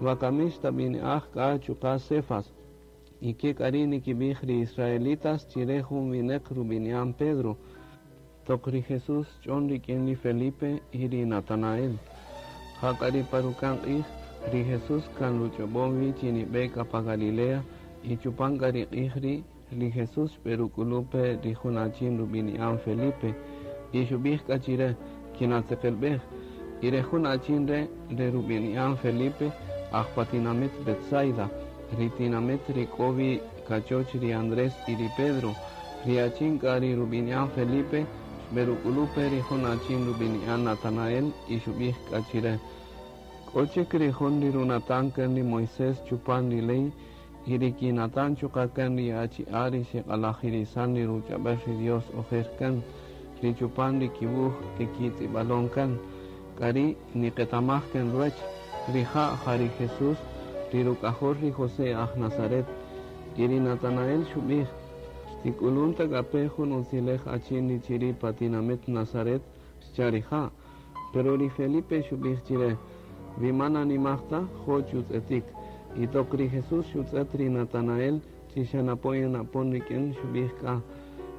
Wakami xtab'ini'aj k'a chuqa' Cefas. Y ke k'a ri' nikib'ij ri israelitas chi re jun wineq rub'ini'an Pedro. Toq ri Jesús xch'on rik'in ri Felipe y ri Natanael. Jak'a ri pa ruka'n q'ij, ri Jesús kan ruch'ob'on wi chi nib'e k'a pa Galilea, y chupan k'a ri q'ij ri', ri Jesús xb'eruk'ulu' pe ri jun achin rub'ini'an Felipe, y xub'ij k'a chire, Kinatzeqelb'ej. Y re jun achin re' re rub'ini'an Felipe, aj pa tinamit Betsaida, ri tinamit ri k'o wi kachoch ri Andrés y ri Pedro. Ri achin k'a ri rub'ini'an Felipe xb'eruk'ulu' pe ri jun achin rub'ini'an Natanael y xub'ij k'a chire, K'o chik ri jun ri runatan kan ri Moisés chupan ri ley y ri kinatan chuqa' kan ri achi'a' ri xeq'alajirisan ri ruch'ab'el ri Dios ojer kan, ri chupan ri kiwuj e kitz'ib'alon kan. K'ari' niqetamaj kan ruwech, rija' ja ri Jesús, ri ruk'ajol ri José aj Nazaret. Y ri Natanael xub'ij, Xtik'ulun ta k'a pe jun utzilej achin ri chiri' pa tinamit Nazaret? xcha' rija'. Pero ri Felipe xub'ij chire, Wi man animaj ta, jo' chutz'etik. Y toq ri Jesús xutz'et ri Natanael chi xa napon yan apon rik'in, xub'ij k'a,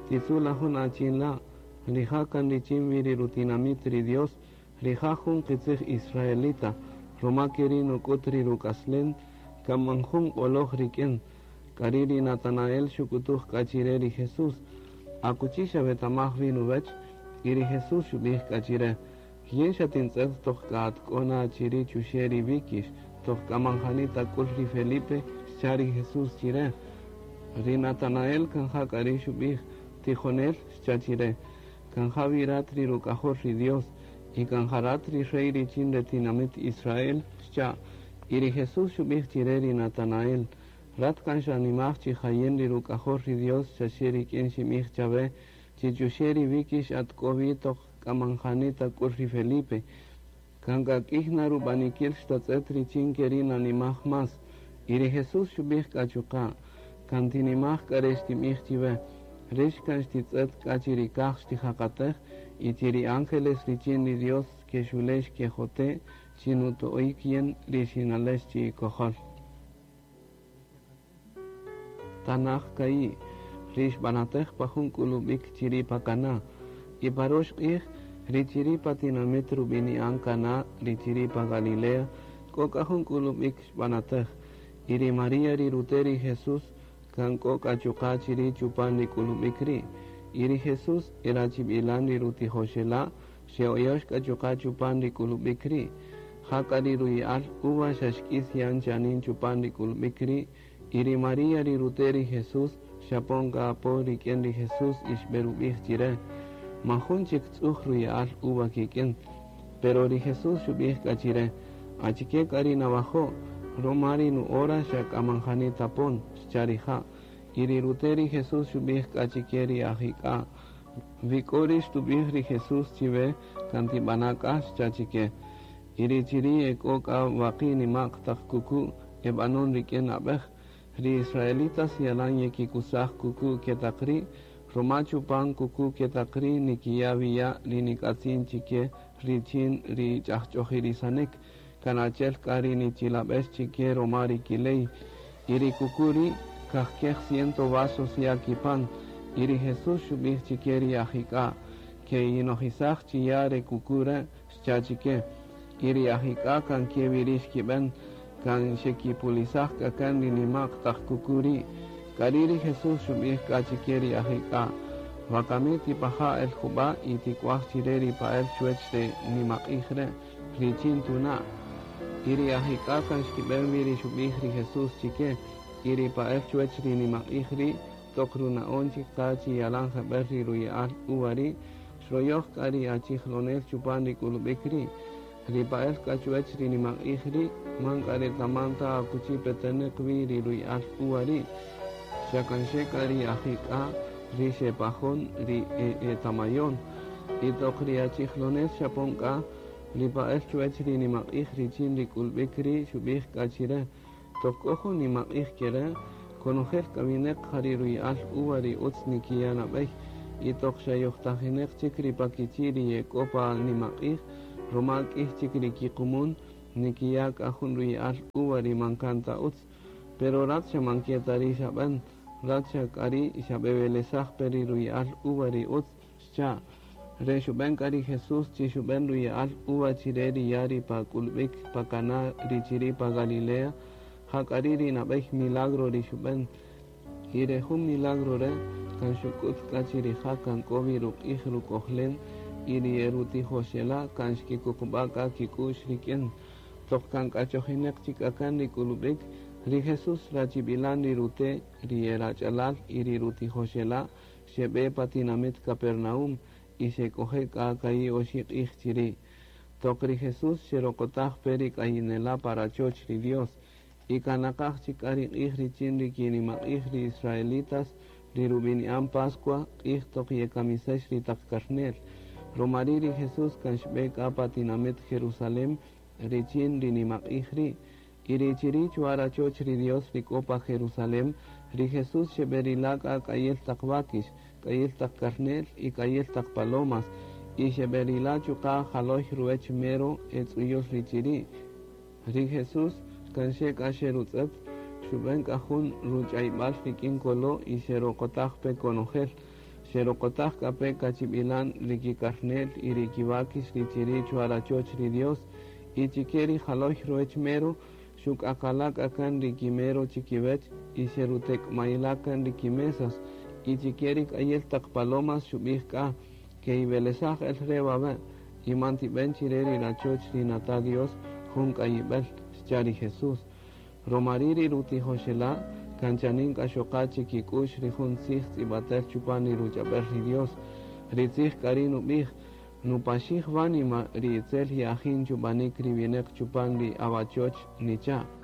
Titzu' la jun achin la', rija' kan richin wi ri rutinamit ri Dios, rija' jun qitzij israelita, roma keri' nuk'ut ri ruk'aslen, kan man jun q'oloj rik'in. K'ari' ri Natanael xuk'utuj k'a chire ri Jesús, Akuchi xawetamaj wi nuwech? Y ri Jesús xubij k'a chire, Yin xatintz'et toq k'a atk'o na chiri' chuxe' ri wíkix, toq k'a man jani tak'ul ri Felipe, xcha' ri Jesús chire. Ri Natanael kan ja k'a ri' xubij, Tijonel, xcha' chire, kan ja wi rat ri ruk'ajol ri Dios, y kan ja rat ri rey richin re tinamit Israel, xcha'. Y ri Jesús xubij chire ri Natanael, Rat kan xanimaj chi ja yin ri ruk'ajol ri Dios xaxe rik'in xinbij chawe chi chuxe' ri wíkix atk'o wi toq k'a man jani tak'ul ri Felipe. Kan k'a k'iy na rub'anikil xtatz'et richin keri' nanimaj más. Y ri Jesús xub'ij k'a chuqa', Kan tinimaj k'a re xtinb'ij chiwe, Rix kan xtitz'et k'a chi ri kaj xtijaqatej y chi ri ángeles richin ri Dios kexule' xkejote' chi nuto'ik yin ri xinalex chi'ikojol. Tanaj ka'i', ri xb'anatej pa jun k'ulub'ik chiri' pa Caná. Y pa rox q'ij, ri chiri' pa tinamit rub'ini'an Caná ri chiri' pa Galilea, k'o k'a jun k'ulub'ik xb'anatej. Y ri María ri rute' ri Jesús kan k'o k'a chuqa' chiri' chupan ri k'ulub'ik ri'. Y ri Jesús e rachib'ilan ri rutijoxela' xe'oyox k'a chuqa' chupan ri k'ulub'ik ri'. Jak'a ri ruyi'al uva xa xk'is yan chanin chupan ri k'ulub'ik ri', y ri María ri rute' ri Jesús xapon k'a apo rik'in ri Jesús y xberubij chire, Man jun chik tz'uj ruya'al uva kik'in. Pero ri Jesús xubij k'a chire, Achike k'a ri nawajo'? Roma ri nu-hora xa k'a man jani tapon, xcha' rija'. Y ri rute' ri Jesús xubij k'a chike ri ajik'a', Wi k'o ri xtubij ri Jesús chiwe, kan tibana' k'a, xcha' chike. Y ri chiri' ek'o k'a waqi' nima'q taq kuku' e banon rik'in abej. Ri israelitas yalan yekikusaj kuku' ke taq ri', roma chupan kuku' ke taq ri' nikiya' wi ya' ri nik'atzin chike richin ri ch'ajch'ojirisanik, kan achi'el k'a ri nichilabex chike roma ri kiley. Y ri kuku' ri' kajkej ciento vasos ya' kipan. Y ri Jesús xubij chike ri ajik'a', Ke'inojisaj chi ya' re kuku' re', xcha' chike. Y ri ajik'a' kan ke wi ri' xkiben, kan xekipulisaj k'a kan ri nima'q taq kuku' ri'. K'ari' ri Jesús xubij k'a chike ri ajik'a', Wakami tipaja' el juba' y tik'uaj chire ri pa'el chuwech re nimaq'ij re', richin tuna'. Y ri ajik'a' kan xkiben wi ri xubij ri Jesús chike, y ri pa'el chuwech ri nimaq'ij ri' toq runa'on chik qa chi yalan jebel ri ruya'al uva ri', xroyoj k'a ri achijlonel chupan ri k'ulub'ik ri'. Ri pa'el k'a chuwech ri nimaq'ij ri' man k'a retaman ta akuchi peteneq wi ri ruya'al uva ri', xa kan xe k'a ri ajik'a' ri xepajon ri e etamayon. Y toq ri achijlonel xapon k'a, ri pa'el chuwech ri nimaq'ij richin ri k'ulub'ik ri' xub'ij k'a chire, Toq k'o jun nimaq'ij kere', konojel k'a wineq ja ri ruya'al uva ri utz nikiya' nab'ey, y toq xa yojtajineq chik ri pa kichi' ri yek'o pa nimaq'ij, roma k'iy chik ri kiqumun, Nikiya' k'a jun ruya'al uva ri man kan ta utz. Pero rat xa man ke ta ri' xab'än, rat xa k'ari' xab'ewelesaj pe ri ruya'al uva ri utz, xcha'. Re xub'en k'a ri Jesús chi xub'en ruya'al uva chire ri ya' ri pa k'ulb'ik pa Caná ri chiri' pa Galilea, ja k'ari' ri nab'ey milagro ri xub'en. Y re jun milagro re' kan xuk'ut k'a chi rija' kan k'o wi ruq'ij ruk'ojlen y ri e rutijoxela' kan xkikuqub'a' k'a kik'u'x rik'in. Toq kan k'achojinaq chik k'a kan ri k'ulub'ik, ri Jesús rachib'ilan ri rute', ri e rach'alal y ri rutijoxela' xeb'e pa tinamit Capernaum y xek'oje' k'a ka'i' oxi' q'ij chiri'. Toq ri Jesús xeroqotaj pe ri k'ayinela' pa rachoch ri Dios, y kan naqaj chik k'a ri q'ij richin ri kinimaq'ij ri israelitas ri rub'ini'an Pascua, q'ij toq yekamisex ri taq karne'l. Ruma ri' ri Jesús kan xb'e k'a pa tinamit Jerusalén richin ri nimaq'ij ri'. Y ri chiri' chwa rachoch ri Dios ri k'o pa Jerusalén, ri Jesús xeb'erila' k'a k'ayil taq wákix, k'ayil taq karne'l y k'ayil taq palomas, y xeb'erila' chuqa' jaloy ruwech mero e tz'uyul ri chiri'. Ri Jesús kan xe k'a xerutz'ët, xub'en k'a jun ruch'ayb'al rik'in kolo' y xeroqotaj pe konojel. Xeroqotaj k'a pe kachib'ilan ri kikarne'l y ri kiwákix ri chiri' chwa rachoch ri Dios, y chike ri jaloy ruwech mero xuk'aqala' k'a kan ri kimero chikiwech y xerutek'mayila' kan ri kimesas, y chike ri k'ayil taq palomas xub'ij k'a, Ke'iwelesaj el re wawe', y man tib'en chire ri rachoch ri nata' Dios jun k'ayib'el, xcha' ri Jesús. Roma ri' ri rutijoxela' kan chanin k'a xoqa' chikik'u'x ri jun tzij tz'ib'atel chupan ri ruch'ab'el ri Dios. Ri tzij k'ari' nub'ij, Nupaxij wánima ri itzel ye'ajin chub'anik ri wineq chupan ri awachoch, nicha'.